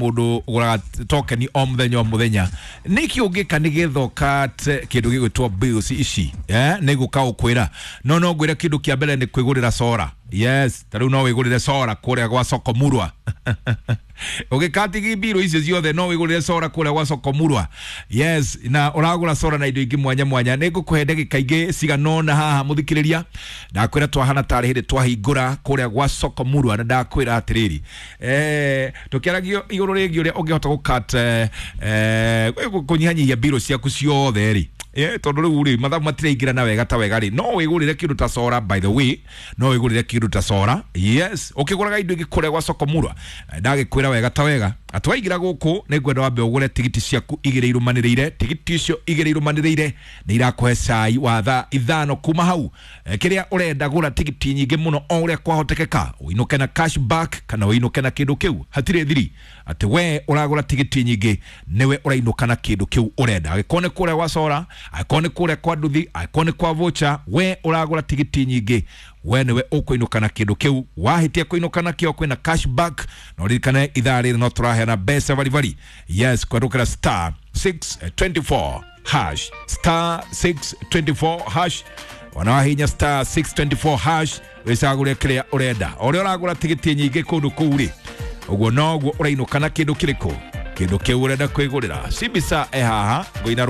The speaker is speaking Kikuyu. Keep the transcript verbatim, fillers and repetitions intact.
Mundu uguraga token o muthenya o muthenya, niki ungika nigetha ũkate kindu gigwitwo bills ici? eh ni guka ukwira no no ngwira kindu kia mbere ni kwigurira sora. Yes, ta riu no wigurire sora kuria gwa Soko Murwa. Ugikatigi mbiro icio ciothe, no wigurire sora kuria gwa Soko Murwa. Yes, na uragura sora na indo ingi mwanya mwanya. Nĩ ngũkũhe ndagĩka ingĩ cigana haha, mũthikĩrĩria. Ndakwĩra twahana tarĩ hĩndĩ twahingũra kũrĩa gwa Soko Murwa, na ndakwĩra atĩrĩrĩ, eh tũkĩaragio igũrũ rĩgiĩ ũrĩa ũngĩhota gũkat eh kũnyihanyihia mbiro ciaku ciothe rĩ. Eh, tondũ rĩu rĩ, mathabu matiraingĩra na wega ta wega rĩ, no wĩgũrĩre kĩndũ ta sora. By the way, no wĩgũrĩre kĩndũ ta sora. Yes, ũkĩgũraga indo ingĩ kũrĩa gwa Soko Murwa, ndagĩkwĩra wega ta wega atĩ waingĩra gũkũ, nĩ ngwenda wambe ũgũre tigiti ciaku igĩrĩ irũmanĩrĩire. Tigiti icio igĩrĩ irũmanĩrĩire nĩ irakũhe cai wa thaa ithano. Kuma hau, eh, kĩrĩa ũrenda, gũra tigiti nyingĩ mũno o ũrĩa kwahotekeka, ũinũke na cashback kana ũinũke na kĩndũ kĩu. Hatirĩ thiri atĩ we ũragũra tigiti nyingĩ nĩwe ũrainũka na kĩndũ kĩu ũrenda, angĩkorwo nĩ kũrĩa gwa sora, angĩkorwo nĩ kũrĩa kwa nduthi, angĩkorwo nĩ kwa voucher. We ũragũra tigiti nyingĩ, we nĩwe ũkũinũka na kĩndũ kĩu. Wahĩtia kũinũka nakĩo, kwĩna cashback. Na ũririkane ithaa rĩrĩ no tũraheana mbeca baribari. Yes, kũhetũkĩra star six twenty-four hash, star six twenty-four hash. Ona wahinya star six twenty-four hash, wĩcagũre kĩrĩa ũrenda. O ũrĩa ũragũra tigiti nyingĩ kũndũ kũu rĩ, ũguo noguo ũrainũka na kĩndũ kĩrĩkũ, kĩndũ kĩu ũrenda kwĩgũrĩra. Cibisa e haha ngũina.